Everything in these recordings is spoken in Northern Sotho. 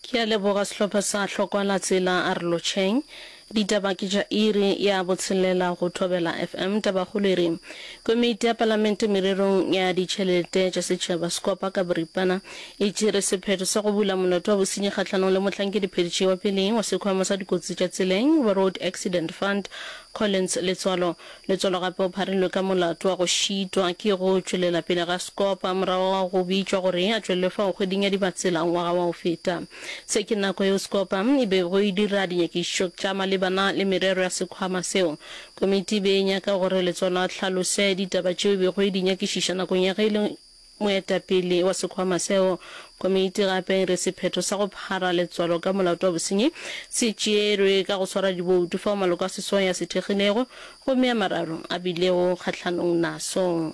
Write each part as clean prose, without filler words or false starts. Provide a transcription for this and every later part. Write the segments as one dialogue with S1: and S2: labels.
S1: Ke a leboga sehlopha sa Hlokwa la Tsela a re lotšheng. Ditaba ke tša iri ya botshelela go Thobela FM. Tabakgolo e re, Komiti ya Palamente mererong ya ditšhelete tša setšhaba, Scopa ka boripana, e tšere sephetho sa go bula molato wa bosenyi kgahlanong le mohlankediphethiši wa peleng wa sekhwama sa dikotsi tša tseleng wa Road Accident Fund, Collins Letswalo. Letswalo gape o pharilwe ka molato wa go šitwa ke go tšwelela pele ga Scopa morago ga go bitšwa gore a tšwelele fao kgweding ya Dibatsela ngwaga wa go feta. Se ke nako yeo Scopa e bego e dira dinyakišišo tša malebana le merero ya sekhwama seo. Komiti e be e nyaka gore Letswalo a hlalose ditaba tšeo e bego e di nyakišiša nakong ya ge e le Moetapele wa sekhwama seo, komiti gape e re sephetho sa go phara letswalo ka molato wa bosenyi se tšeerwe ka go swara diboutu fao maloko a seswai a se thekgilego gomme a mararo a bilego kgahlanong naso.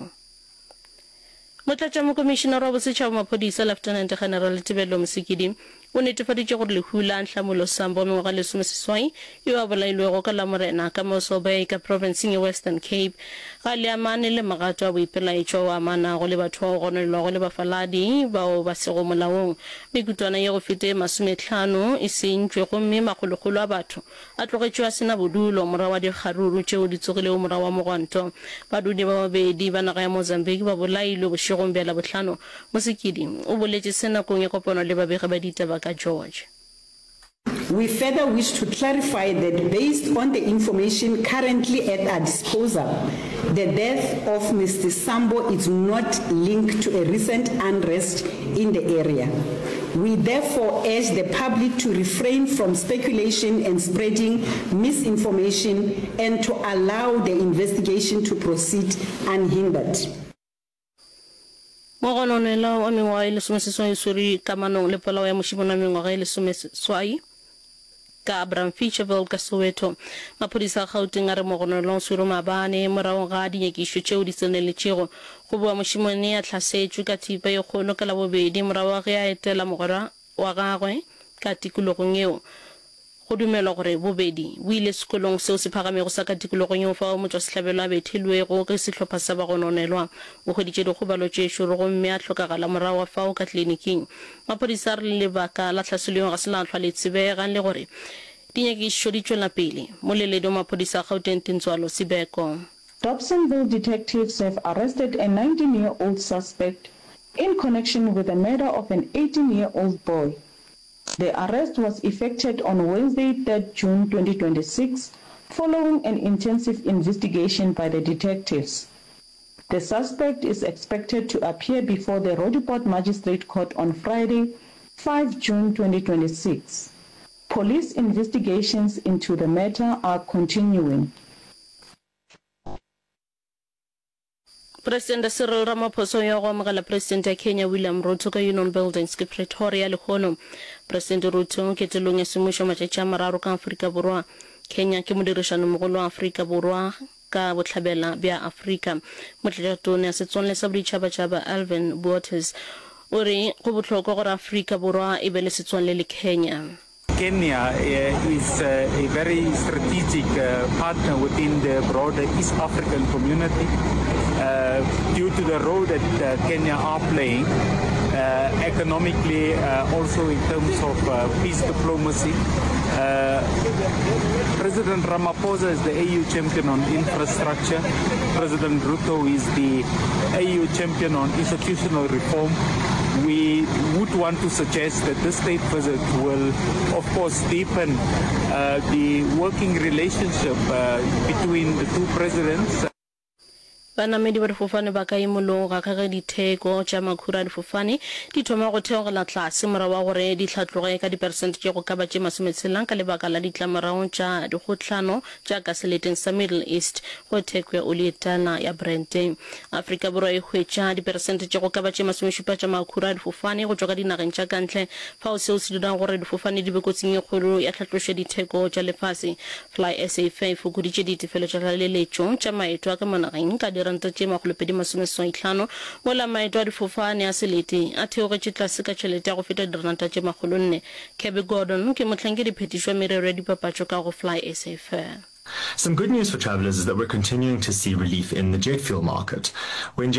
S1: Motlatšamokomišinara wa Bosetšhaba wa Maphodisa, Lieutenant General Tebello Mosikidi, O netefaditše gore lehu la Nhlamulo Sambo wa mengwaga e lesomeseswai yo a bolailwego ka Lamorena ka Mossel Bay ka profenseng ya Western Cape ga le amane le magato a boipelaetšo ao a amanago le batho bao gononelwago e le bafaladi bao ba sego molaong. Mekutwana ye go feta ye masomehlano e sentšwe gomme makgolokgolo a batho a tlogetšwe a se na bodulo morago ga dikgaruru tšeo di tsogilego morago ga mogwanto. Badudi ba babedi ba naga ya Mozambique ba bolailwe bošegong bja Labohlano Mosekedi o boletše se nakong ya kopano le babegi ba ditaba ka George.
S2: We further wish to clarify that based on the information currently at our disposal, the death of Mister Sambo is not linked to a recent unrest in the area. We therefore urge the public to refrain from speculation and spreading misinformation and to allow the investigation to proceed unhindered.
S1: Mogononelwa wa mengwaga ye lesomeseswai o swerwe kamanong le polao ya mošemane wa mengwaga ye lesomeseswai ka Bramficheville ka Soweto. Maphodisa a Gauteng a re mogononelwa o swerwe maabane morago ga dinyakišišo tšeo di tseneletšego. Go boa mošemane a hlasetšwe ka thipa ye kgolo ka Labobedi morago ga ge a etela mogwera wa gagwe ka tikologong yeo. Go dumelwa gore bobedi bo ile sekolong seo se phagamego sa ka tikologong yeo fao motšwasehlabelo a bethilwego ke sehlopha sa bagononelwa. O hweditše dikgobalo tše šoro gomme a hlokagala morago ga fao ka kliniking. Maphodisa a re lebaka la tlhaselo yeo ga se la hlwa le tsebega le gore dinyakišišo di tšwela pele. Moleledi wa maphodisa a Gauteng Tintswalo Sibeko.
S3: Dobsonville detectives have arrested a 19-year-old suspect in connection with the murder of an 18-year-old boy. The arrest was effected on Wednesday, 3 June 2026, following an intensive investigation by the detectives. The suspect is expected to appear before the Roodepoort Magistrate Court on Friday, 5 June 2026. Police investigations into the matter are continuing.
S1: Presidente Cyril Ramaphosa o ya go amogela Presidente ya Kenya William Ruto ka Union Buildings ke Pretoria lehono. Presidente Ruto o ketelong ya semmušo matšatši a mararo ka Afrika Borwa. Kenya ke modirišanomogolo wa Afrika Borwa ka Bohlabela bja Afrika. Motlatšatona ya Setswalle sa Boditšhabatšhaba Alvin Botes o re go bohlokwa gore Afrika Borwa e be le setswalle le Kenya.
S4: Kenya is a very strategic partner within the broader East African community due to the role that Kenya are playing economically, also in terms of peace diplomacy. President Ramaphosa is the AU champion on infrastructure. President Ruto is the AU champion on institutional reform. We would want to suggest that this state visit will, of course, deepen uh, the working relationship uh, between the two presidents.
S1: Banamedi ba difofane ba ka imologa ka ge ditheko tša makhura a difofane di thoma go theogela tlase morago ga gore di hlatloge ka diperesente tše go ka ba tše masometshela ka lebaka la ditlamorago tša dikgohlano tša ka seleteng sa Middle East go theko ya oli e tala ya Brent. Afrika Borwa e hwetša diperesente tše go ka ba tše masomešupa tša makhura a difofane go tšwa ka dinageng tša ka ntle, fao seo se dirago gore difofane di be kotsing e kgolo ya tlhatlošo ya ditheko tša lefase. Fly SA Fair e fokoditše ditefelo tša tlaleletšo tša maeto a ka mo nageng ka diranta tše makgolopedimasomeseswaihlano, mola maeto a difofane a selete a theogetše tlase ka tšhelete ya go feta diranta tše makgolonne. Kirby Gordon ke mohlankediphethiši wa merero ya dipapatšo ka go Fly SA Fair.
S5: Some good news for travelers is that we're continuing to see relief in the jet fuel market. When jet.